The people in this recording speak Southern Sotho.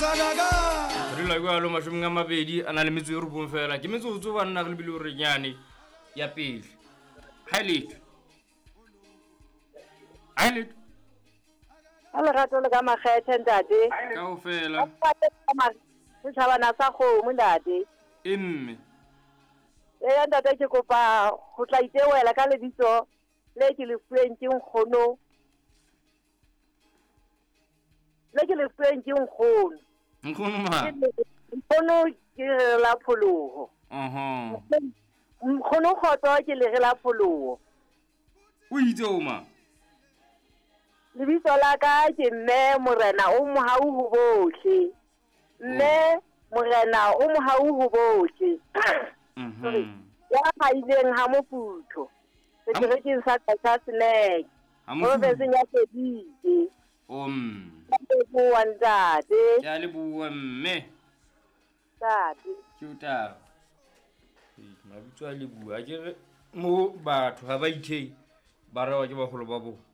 Re dula jalo 29 fela ke metsotso banna re lebile gore nyane ya pele ga e letho ga e letho Ka lerato le ka makgethe ntate. Kao fela. Setšhabana sa kgomo ntate. E mme. Eya ntate ke kopa go tla itewela ka lebitso le ke le fuweng ke nkgono. Le ke le fuweng ke nkgono. Nkgono ma? Nkgono ke lere la pholoho. Nkgono kgotso ke lere la pholoho. O itse o ma? Lebitso la ka ke mme Morena o mohau ho bohle. Mme Morena o mohau ho bohle. Ya haileng ha moputho. Seterekeng sa Qachaseneke. Provinseng ya Sedike. Ke leboha ntate. Ke a leboha mme. Ntate. Ke o taba. Mabitso a leboha. Ke re mo batho ha ba ithei ba rewa ke bagolo ba bona.